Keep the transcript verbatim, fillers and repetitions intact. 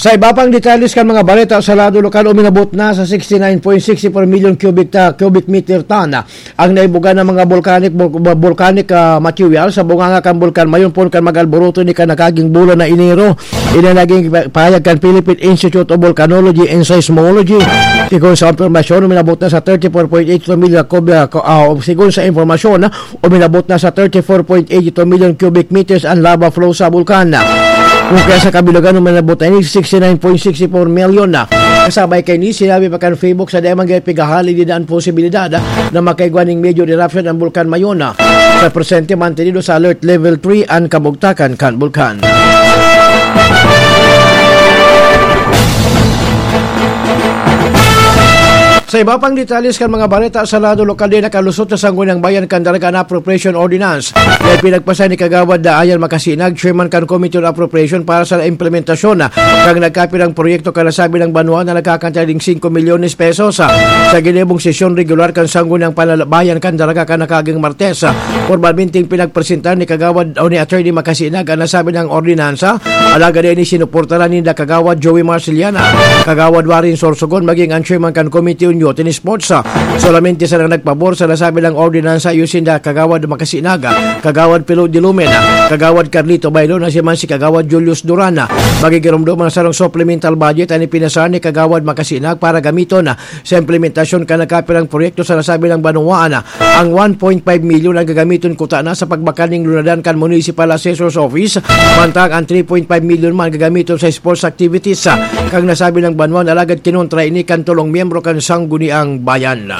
Sa iba pang detalles kan mga balita sa lado lokal, uminabot na sa sixty-nine point six four million cubic ta-, cubic meter ton ang naibuga ng mga volcanic, vol-, volcanic, ah, material sa bunganga kan Bulkan Mayon poon kan mag-alboroto ni kan nakaging bulan na Enero. Ini naging pa-, pahayag kan Philippine Institute of Volcanology and Seismology. Sigon sa impormasyon, uminabot na sa thirty-four point eight two million cubic, ah, sigon sa impormasyon, uminabot na sa thirty-four point eight two million cubic meters ang lava flow sa bulkan. Kung kaya sa kabilugan, uminabot na ini sixty-nine point six four million na. Kasabay kaini, sinabi pa kan PHIVOLCS na dai man gayod pighahalin dinda an posibilidad na makaigwa ning major eruption ang Bulkan Mayon. Sa presente, mantenido sa alert level three an kabugtakan kan bulkan. Sa iba pang detalles kan mga balita sa lado lokal, dai nakalusot sa Sangguniang Bayan kan Daraga an Appropriation Ordinance na ipinagpasa ni Kagawad Daayan Makasinag, Chairman kan Committee on Appropriation para sa implementasyon kan nagkapirang proyekto kan nasabing banwa na nagkakantidad ning singko milyones pesos. Sa ginibong sesyon regular kan Sangguniang Panalabayan kan Daraga kan nakaaging Martes, pormalmenteng pinagpresentar ni Kagawad o ni Attorney Makasinag an nasabing ordinansa. Alagad ini sinuportaran ninda Kagawad Joey Marceliana, Kagawad Warren Sorsogon, maging ang chairman kan Committee on Youth and Sports. Solamente sana nagpabor sa nasabing ordinansa iyo sinda Kagawad Makasinag, Kagawad Pilo Dilumen, Kagawad Carlito Bailo na siya man si Kagawad Julius Duran. Magigiromdom ang sarong supplemental budget an ipinasa ni Kagawad Makasinag para gamiton sa implementasyon kan nagkapirang proyekto sa nasabing banwaan. Ang one point five milyon ang gagamiton kuta na sa pagbakal ning lunadan kan Municipal Assessor's Office, mantang ang three point five milyon man gagamiton sa sports activities, ah, kan nasabing banwaan. Alagad kinontra ini kan tolong miyembro kan Sangguniang Bayan.